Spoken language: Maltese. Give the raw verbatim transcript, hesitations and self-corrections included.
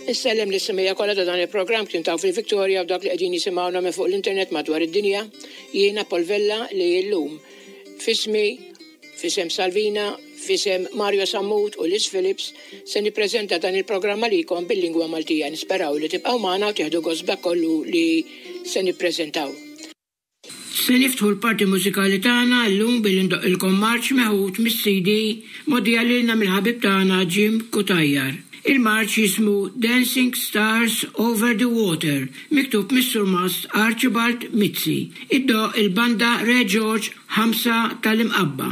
Insellem lis-semmiegħa kollha ta' dan il-programm tintaw fil-Victoria u dak li qegħdin jisimgħuna minn fuq l-internet madwar id-dinja. Jiena Paul Vella li llum f'ismi, f'isem Salvina, f'isem Mario Sammut u Liz Phillips se nippreżenta dan il-programm għalikom bil-lingwa Maltija. Nisperaw li tibqgħu magħna u tieħdu gost b'dak kollu li se nippreżentaw. Se niftħu l-parti mużikali tagħna llum billi ndoqqilkom marċ meħud mis-C D mogħdija lilna mill-ħabib tagħna Jim Cutajar. Il-marċ jismu Dancing Stars Over the Water, miktub mis-Surmast Archibald Mizzi. Iddoqq il-banda Re George ħamsa tal-Imqabba.